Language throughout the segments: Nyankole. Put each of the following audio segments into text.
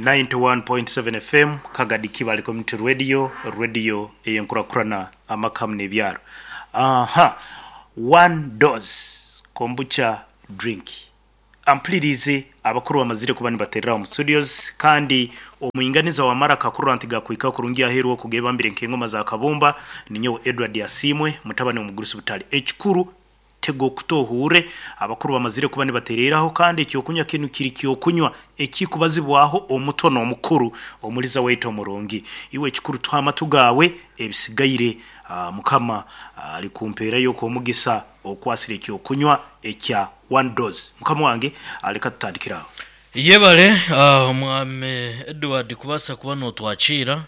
91.7 FM Kagadi Kibale Community Radio, Radio ey'enkurakurana amaka hamwe n'ebyaro. Aha, one dose kombucha drink. Ampuliriize abakuru bamazire kuba nibaterera omu studios kandi omwinganiza wa maraka kurora nti gakuhika kurungi aheeru oku gebambire nk'engoma za kabumba ninyowe Edward Asiimwe mutabani w'omugurusi Butale. Ekikuru Tega okutu ohuurre, abakuru bamazire kuba nibatereeraho, kandi eky'okunywa kinu kiri ky'okunywa ekikubazibwaho omuto n'omukuru, omuliza waitu omurungi. Iwe ekikuru tuhe amatu gaawe, ebisigaire Mukama alikumpeerayo okw'omugisa okwasire eky'okunywa ekya One Dose. Mukama wange, leka tutandikire aho. Yebare Omwami Edward kubaasa kuba notwakiira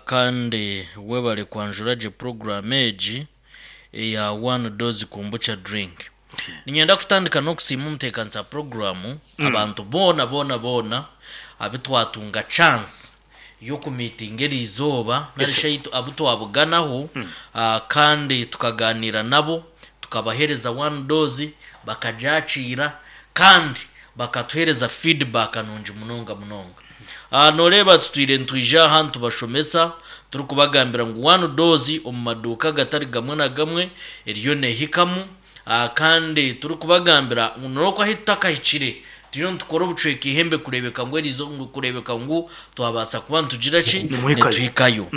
kandi webare kwanjura gye puroguraamu egi. eya One Dose Kombucha Drink. Niinyenda kutandika n'okusiima omuteekanisa puroguraamu, abantu boona boona boona abu twatunga chance y'okumiitinga eri izooba nari shi ahu abu twabuganaho kandi tukagaaniira nabo, tukabaheereza One Dose bakagyakiira kandi bakatuheereza feedback nungi munonga munonga. Nooreeba tutwire nitwija aha nitubashomesa turikubagambira ngu one dose omu maduuka agatari gamwe na gamwe eriyo neehikamu kandi turikubagambira ngu n'oku ahu tutakahikire turiyo nitukora obucweka eihembe kureebeka ngu eriizooba kureebeka ngu twabaasa kuba nitugira ki nituhikayo.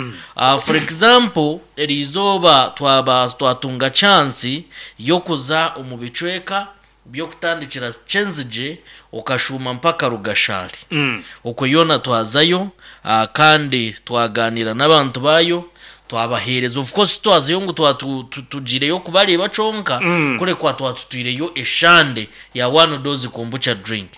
For example eriizooba twaba twatunga chance y'okuza omu bicweka by'okutandikira Kyenzigye okashuuma mpaka Rugashari. Okwo yoona twazayo kandi twagaaniira n'abantu baayo, twabaheereza. Of course titwazayo ngu tugiireyo kubareeba kyonka, kureka twatutwireyo eshande ya One Dose Kombucha Drink.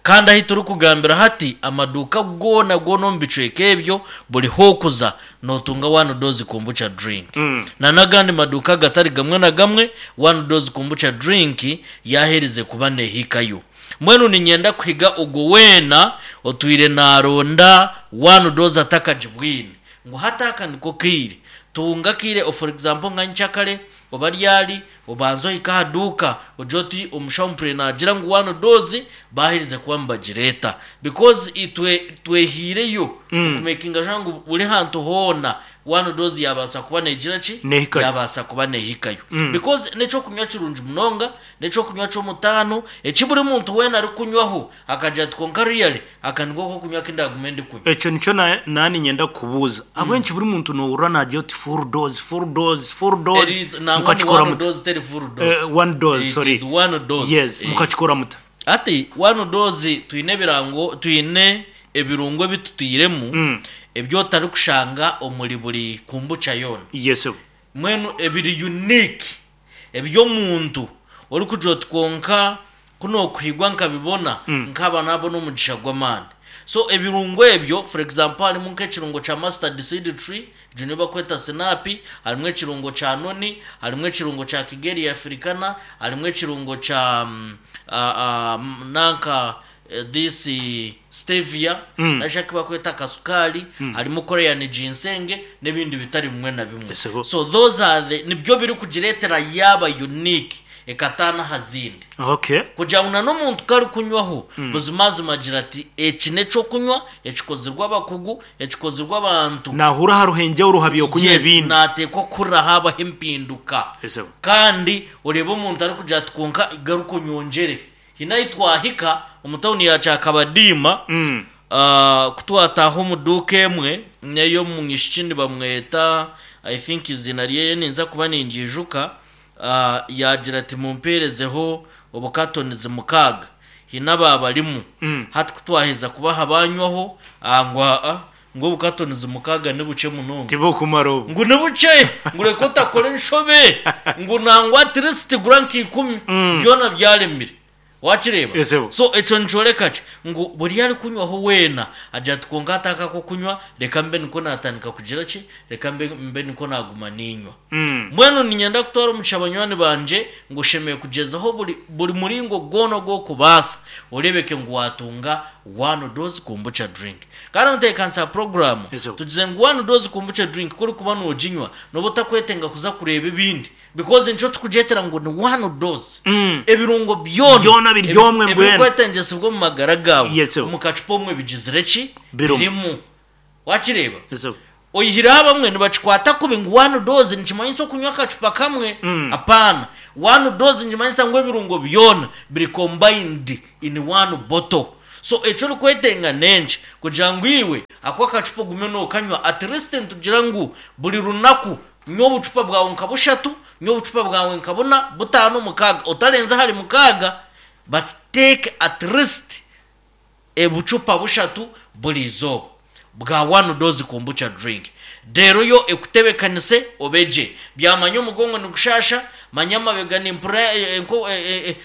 Kandi ahu turikugambira hati, amaduuka goona goona omu bicweka ebyo, buri h'okuza Notunga One Dose Kombucha Drink na n'agandi maduuka agatari gamwe na gamwe, One Dose Kombucha Drink yaaherize kuba neehikayo. Mbwenu niinyenda kuhiga ogwo weena otwire naaronda One Dose atakagibwine ngu hati aka niko kaire. Tunga akaire for example nka nkyakare oba ryari Obanze ohike aha duuka ogire oti omushaho mpurire naagira ngu one dose baaherize kuba nibagireeta because itwe twehaireyo okumekinga sure ngu buri hantu hoona one dose yaabaasa kuba neegira ki? Neehikayo. Yaabaasa kuba neehikayo because n'eky'okunywa kirungi munonga, n'eky'okunywa ky'omutaano eki buri muntu weena arikunywaho akagira ati kwonka really aka niko k'okunywa aku ndaagume ndikunywa. Ekyo nikyo na niinyenda kukubuuza. Ahabw'enki buri muntu noohurira naagira oti full dose, full dose, full dose, Eri nangwa ni mukakikora one muta? dose teri full dose. One dose, It sorry. is one dose. Yes, Eh. mukakikora muta? Hati one dose twine ebirango twine ebirungo ebi tutairemu ebi otarikushanga omuri buri kombucha yoona. Yes sebo. Mbwenu ebiri unique eby'omuntu orikugira oti kwonka ku nookuhigwa nkabibona nkaaba naabona omugisha gw'amaani. So ebirungo ebyo for example harimu nk'ekirungo kya mustard seed tree, egyo niyo barikweta sinaapi, harimu ekirungo kya noni, harimu ekirungo kya kigeria africana, harimu ekirungo kya nanka This stevia nari aku barikweta akasukaari, harimu Korean ginseng n'ebindi bitari bimwe na bimwe. Esebo. So those are the nibyo birikugireetera yaaba unique ekataana aha zindi. Okay. Kugira ngu na n'omuntu ku arikunywaho, buzimazima agira ati eki n'eky'okunywa ekikozirwe abakugu, ekikozirwe abantu. Naahurra hariho enjawuro aha by'okunywa Yes, ebindi. naateekwa kuhurira haabaho empinduka. Esebo. Kandi oreebe omuntu arikugira ati kwonka garuka onyongyere. Haine ahu twahika omu tauni ya Kyakabadiima, ku twataaha omu duuka emwe n'ey'omwishiki nibamweta I think eiziina ryeye ninza kuba ningiijuka, yaagira ati mumpeerezeho obukatonizi mukaaga. Haine abaabarimu. Hati ku twaheza kubaha baanywaho, ngu aa Ngu obukatonizi mukaaga ni bukye munonga. Tibukumara obu. Ngu ni bukye, ngu reka otakora enshobe, ngu nangwa at least gura nka ikumi, byona byaremire. Wakireeba? Esebo. So ekyo nikyoreka ki? Ngu buri arikunywaho weena agira ati kwonka hati aka ak'okunywa reka mbe nikwo naatandika kugira ki? Reka mbe mbe nikwo naaguma niinywa. Mbwenu niinyenda kutwara omugisha banywani bangye ngu oshemereire kugyezaho buri buri muringo gwona ogu orikubaasa oreebeke ngu waatunga one dose kombucha drink. Kandi omutebeekanisa wa puroguraamu, Ezo. tugize ngu one dose kombucha drink ku orikuba nooginywa, nooba otakwetenga kuza kureeba ebindi because nikyo turikugyetera ngu ni one dose. Ebirungo byona Byona. Byona biri omwe mbwenu. Ebirikwetengyesibwa omu magara gaawe Yes, sir. omu kacupa omwe bigizire ki? Birimu. Birimu. Wakireeba? Yes, sir. Oyihireho abamwe nibakikwata kubi ngu one dose nikimanyisa okunywa akacupa kamwe. Apaana. One dose nikimanyisa ngu ebirungo byona biri combined in one bottle. So eki orikwetenga n'enki? Kugira ngu iwe ako akacupa ogume nookanywa at least nitugira ngu buri runaku nywa obucupa bwawe nka bushatu, nywa obucupa bwawe nka buna, butaano, mukaaga, otarenza ahari mukaaga but take at least ebucupa bushatu buri izooba bwa one dose kombucha drink. Reero yo ekutebekanise obe gye. Byamanya omugongo nigushasha, manya amabega nimpurira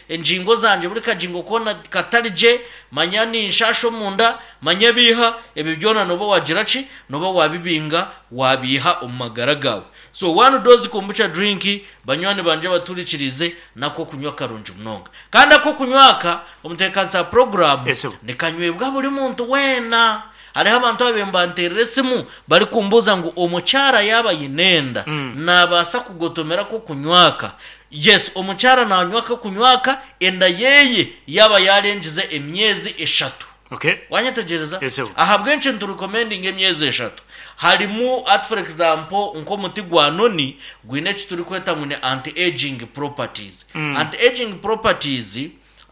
engingo zangye buri kagingo koona katari gye, manya ninshasha omunda, manya ebiiha, ebyo byona nooba waagira ki? Nooba waabibinga waabiiha omu magara gaawe. So one dose kombucha drink Banywani bangye abaturikiriize, n'ak'okunywa karungi munonga. Kandi ak'okunywa aka, omu ntebeekanisa ya puroguraamu, Esebo. nikanywebwa buri muntu weena. Hariho abantu ababaire nibanteerera esimu barikumbuuza ngu omukyara yaaba aine enda, naabaasa kugotomera ak'okunywa aka? Yes, omukyara naanywa ak'okunywa aka enda yeeye yaaba yaarengize emyezi eshatu. Okay. Wanyetegyereza? Yes, sir. Ahabw'enki niturecommendinga emyezi eshatu? Harimu hati for example nk'omuti gwa noni gwine eki turikweta ngu ni anti-aging properties. Anti-aging properties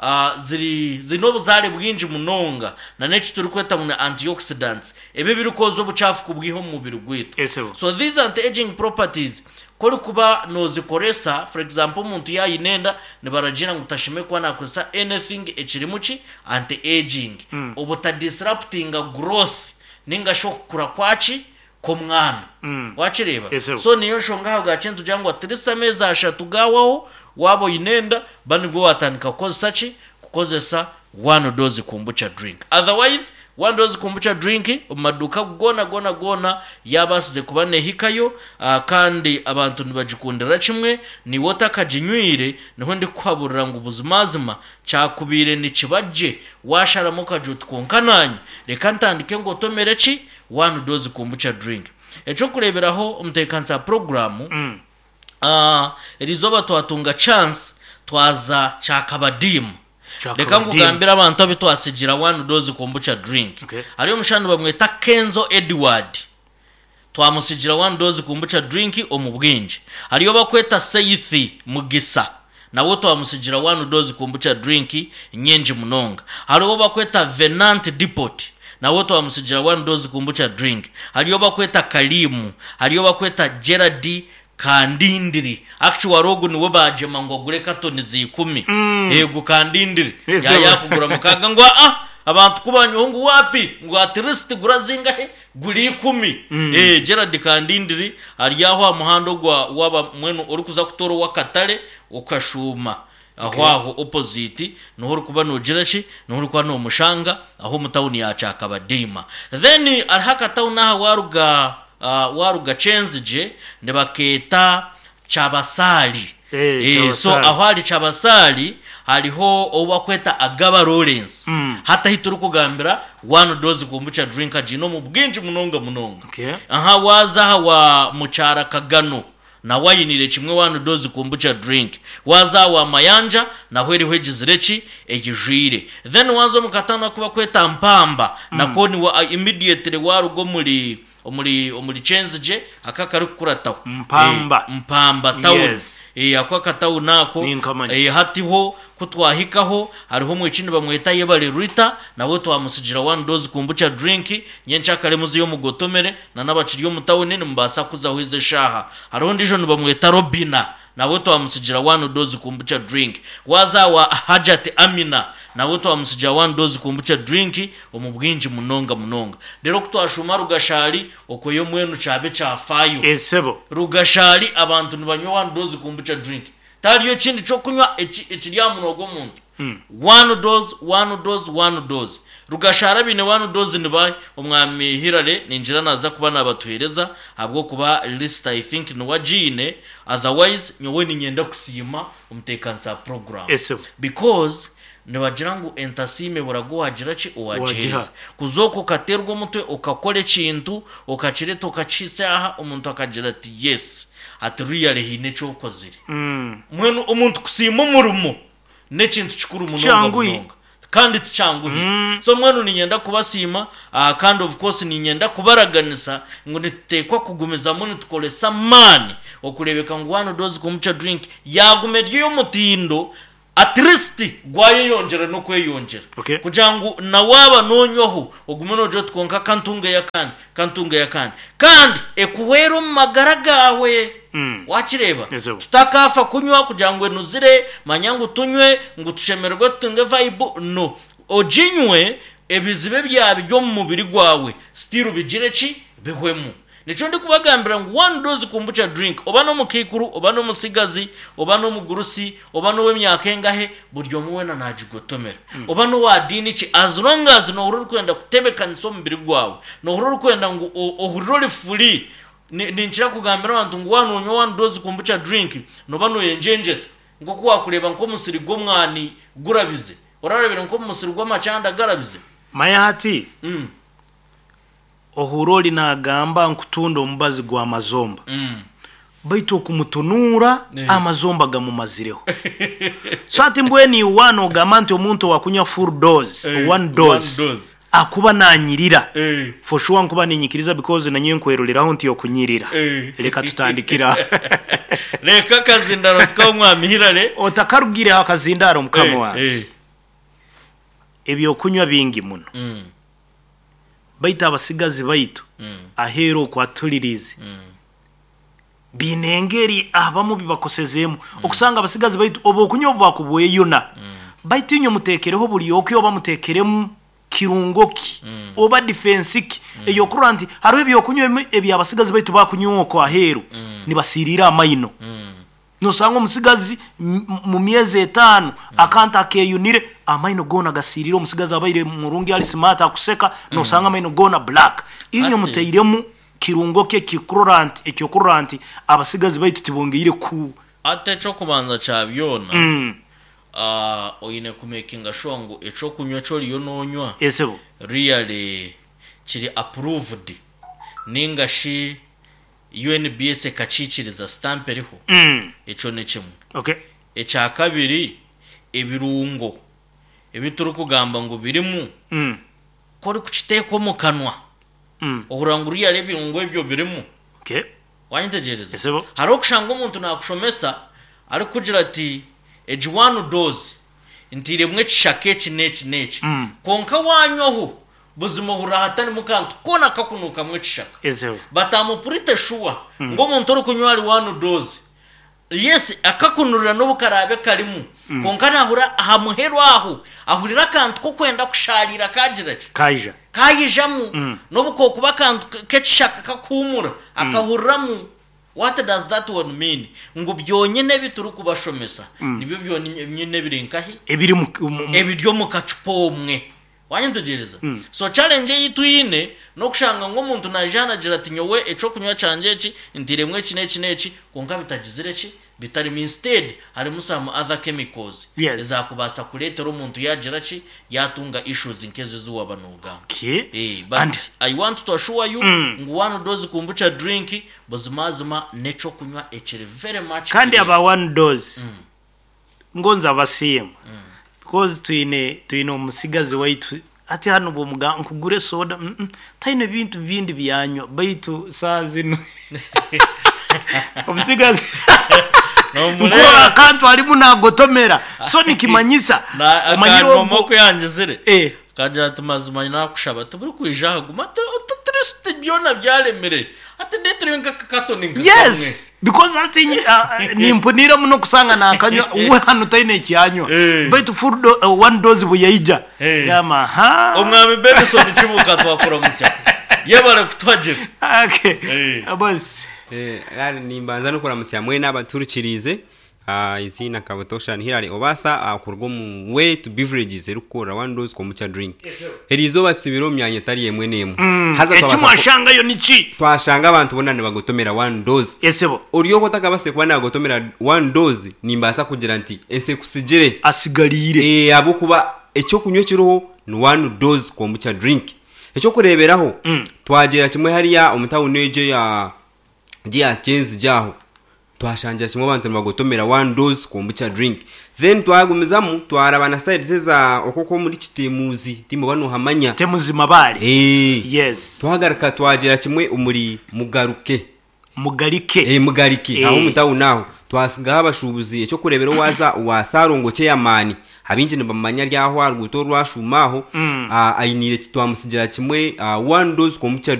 ah, ziri ziine obuzaare bwingi munonga na n'eki turikweta ngu ni antioxidants ebi ebirikwoza obucaafu kubwiha omu mubiri gwaitu. Yes, sir. So these anti-aging properties ku orikuba noozikoresa for example omuntu yaaba aine enda nibaragiira ngu tashemereire kuba naakoresa anything ekirimu ki? Anti-aging, obutadisruptinga growth ninga shi okukura kwaki? Kw'omwana. Wakireeba? Yes, sir. So niyo nshonga ahabwaki nitugira ngu at least ameezi ashatu gaawaho waaba oine enda, ba nibwo waatandika kukozesa ki? Kukozesa one dose kombucha drink. Otherwise, one dose kombucha drink omu maduuka goona goona goona yaabaasize kuba neehikayo kandi abantu nibagikundira kimwe. Naiwe otakaginywire, niho ndikukuhaburira ngu buzimazima Kyakubaire nikiba gye waasharamu okagira oti, Kwonka naanye reka ntandike ngotomere ki? One dose kombucha drink. Eky'okureeberaho, omutebeekanisa wa puroguraamu, eriizooba twatunga chance twaza Kyakabadiima. Reka nkugambire abantu abu twatsigira one dose kombucha drink. Hariyo omushaija nibamweta Kenzo Edward. Twamutsigira one dose kombucha drink omu bwingi. Hariyo obakweta Seithi Mugisa nawe twamutsigira one dose kombucha drink nyingi munonga. Hariho obakweta Venant Depot nawe twamutsigira one dose kombucha drink. Hariyo obakweta Kalimu, hariyo obakweta Gerald Kandindiri. Actually ogu niwe baagyema ngu agure katoni za ikumi. Eego Kandindiri yaayakugura mukaaga ngu aa abantu ku banywaho ngu waapi ngu at least gura zingahe? Guri ikumi. Ee, Gerald Kandindiri ari aho aha muhanda ogwa waaba mbwenu orikuza kutoora ow'akatare okashuuma aho aho opposite niho orikuba noogira ki, niho orikuba noomushanga aho omu tawuni ya Kyakabadiima. Then hariho akatawuni aha waaruga waaruga Kyenzigye nibakeeta Kyabasaali. Eh, So Kyabasaali. aho ahari Kyabasaali hariho ou bakweta Agaba Lawrence. Hati ahi turikugambira one dose kombucha drink agiine omu bwingi munonga munonga. Okay. Aha waaza aha wa Mukyara Kagano nawe ainiire kimwe one dose kombucha drink. Waaza aha wa Mayanja naho eriho egizire ki? Eyijwire. Then waaza omu katawuni aku bakweta Mpamba nako niwe immediately waaruga omuri Omuri omuri Kyenzigye ako akarikukurataho. Mpamba. Mpamba town. Yes. Ako akatawuni ako. Ninkamanya. Hati ho ku twahikaho hariho omwishiki nibamweta Yebare Rita nawe twamutsigira one dose kombucha drink nyenkyakare muzeyo mugotomere na n'abakiri omu tawuni nimubaasa kuzaho ezo eshaaha. Hariho ondiijo nibamweta Robina Nawe twamutsigira one dose kombucha drink. Waaza awa Hajat Amina nawe twamutsigira one dose kombucha drink omu bwingi munonga munonga. Reero ku twashuuma Rugashari okweyo mbwenu kyaba ekyafaayo. Esebo. Rugashari abantu nibanywa one dose kombucha drink. Tihariyo ekindi ky'okunywa ekiri aha munwa gw'omuntu. One dose, one dose, one dose. Rugashara abaine one dose nibahi? Omwami Hillary ningira naza kuba nabatuhereza ahabw'okuba list I think niwe agiine otherwise nyowe ninyenda kusiima omuteekanisa wa program Esebo. because nibagira ngu entasiima ebura gu wagira ki Owagiha. owagihereza. Kuza okwo okaterwa omutwe okakora ekintu okakireeta okakihitsya aha omuntu akagira ati yes ati really haine eki okozire. Mbwenu omuntu kusiima omurimo. N'ekintu kikuru munonga Tikyanguhi. munonga kandi tikyanguhire. So mbwenu niinyenda kubasiima kandi of course niinyenda kubaraganisa ngu nituteekwa kugumizamu nitukoresa amaani okureebeka ngu One Dose Kombucha Drink yaaguma eri ey'omutindo at least gwayeyongyera n'okweyongyera Okay. kugira ngu na waaba noonywaho ogume noogira oti kwonka ka ntungeyo akandi, ka ntungeyo akandi. Kandi ekuhwere omu magara gaawe. Waakireeba? Ezo. Tutakaafa kunywa kugira ngu enuzire, manya ngu tunywe ngu tushemererwe tutunge vibe, no. Oginywe, ebizibu ebyaba biri omu mubiri gwawe still bigire ki? Bihwemu. Nikyo ndikubagambira ngu one dose kombucha drink, oba n'omukaikuru, oba n'omutsigazi, oba n'omugurusi, oba n'ow'emyaka engahe, buri omwe weena naagigotomera. Oba n'owa diini ki, as long as noohurira orikwenda kutebeekanisa omubiri gwawe, noohurira orikwenda ngu ohurire ori free, Ninkira kugambira abantu ngu waaba noonywa one dose kombucha drink, nooba nooyengyengyeta nk'oku waakureeba nk'omusiri gw'omwani gurabize. Orareebire nk'omu musiri gw'amakyanda garabize? Manya hati, ohuura ori naagamba nkutunda omubazi gw'amazomba, baitu okumutunuura amazomba gamumazireho. So hati mbwenu iwe waaba noogamba nti omuntu owaakunywa full dose, one dose, Akuba nanyirira for sure nkuba ninyikiriza because nanyowe nkweroreraho nti okunyirira reka tutandikire aho. Reka akazindaro tukahe omwami Hillary. Otakarugireho akazindaro mukama wange ebyokunywa bingi muno baitu abasigazi baitu aheru oku aturirize biine engeri abamu bibakosezeemu okusanga abasigazi baitu obu okunywa obu bakubweyuna baitu inywe mutekereho buri oki oba mutekeremu kirungo ki oba difensi ki ey'okurora nti hariho ebyokunywa ebimwe ebi abasigazi baitu bakunywa okwo aheeru nibasiiriira amaino. Nosanga omusigazi mu myezi etaano akantu akeyunire amaino goona gasiiriire omusigazi abaire murungi ari smart akuseka nosanga amaino goona black. Inywe muteiremu Kirungo ki ekikurora nti eky'okurora nti abasigazi baitu tibongeire ku. Hati eky'okubanza kya byona, oine kumekinga shuwa ngu eky'okunywa eki oriyo noonywa Esebo. really kiri approved ninga shi UNBS ekakiikiriza, stamp eriho. Ekyo ni kimwe. Okay. Ekya kabiri, ebirungo ebi turikugamba ngu birimu, ku orikukiteeka omu kanwa, Ohurira ngu really ebirungo ebyo birimu. Okay. Wanyetegyereza? Esebo. Hariho okushanga omuntu naakushomesa arikukugira ati egi one dose ntairemu ekishaka eki n'eki n'eki. Kwonka waanywaho, buzima ohurira hatarimu kantu koona kakunuukamu ekishaka. Esebo. But am pretty sure ngu omuntu orikunywa ahari one dose, Yes, akakunurira n'obu karaabe karimu, kwonka naahurira aha muheru aho, ahurira akantu k'okwenda kushaariira kaagira ki? Kaija. Kaijamu. N'obu kookuba akantu k'ekishaka kakuhuumura, akahuriramu. What does that one mean? Ngu byonyine ebi turikubashomesa nibyo byonyine ebiri nkahi? Ebiri mu, mu, mu. Ebiri omu kacupa omwe. Wanyetegyereza? So challenge ei twine n'okushanga ngu omuntu naija nagira ati nyowe eky'okunywa kyangye eki ntairemu eki n'eki n'eki kwonka bitagizire ki? Bitarimu instead harimu some other chemicals Yes. ezakubaasa kureetera omuntu yagira ki? Yatunga issues nk'ezo ezi waaba nogamba. Okay. Eh, but And I want to assure you ngu one dose kombucha drink buzimazima n'eky'okunywa ekiri very much kandi clear. aba one dose Ngonza abasiima because twine twine omusigazi waitu hati hanu bwomugamba nkugure soda mm taine bintu bindi byanywa baitu saaha zinu omusigazi Nomureeba. nkurora akantu arimu nagotomera so nikimanyisa Na- omanyire akangoma ogwo oku yangizire Eh. Akagira ati, Mazima naakushaba, tiburikwija aha guma ati, Otuturisiti byona byaremire, hati ndeetereyo nk'akakatoni nka kamwe. Yes, because hati nimpuniira muno kusanga naakanywa, we hanu taine eki anywa. Eh. Baitu full do, one dose buyaija. Eh. Gamba, aha. Omwami Benson Kibuuka twakuramutsya. Yebare kutuhagira. Okay. Eh. Boss. Eh, kandi nimbanza n'okuramutsya mwena abaturikiriize. Eiziina nka butoosha ni Hillary Obaasa kuruga omu Way to Beverages erikukorera One Dose Kombucha Drink. Eri izooba tusibire omu myanya etari emwe n'emwe. Haza Eki twabaasa ku- mwashangayo niki? twashanga abantu boona nibagotomera One Dose. Esebo. Ori oku otakabaasire kuba naagotomera One Dose, nimbaasa kugira nti ensi ekusigire. Asigariire. Eh, ahabw'okuba eky'okunywa ekiriho ni One Dose Kombucha Drink. Eky'okureeberaho, twagyera kimwe hariya omu tawuni egyo eya egyo eya Kyenzigye aho. Twashangira kimwe abantu nibagotomera one dose kombucha drink. Then twagumizamu twaraba na sides eza okwo okw'omuri Kitemuzi timuba nohamanya. Kitemuzi Mabaale. Eeh. Yes. Twagaruka twagyera kimwe omuri Mugaruke. Mugarike. Eeh Mugarike aho Eeh. omu tawuni aho. Twasigaho abashuubuzi eky'okureebera owaaza owa Ssalongo Chairman abaingi nibamumanya ari aho aha ruguuto orwashuuma aho, ainiire twamutsigira kimwe one dose kombucha drink.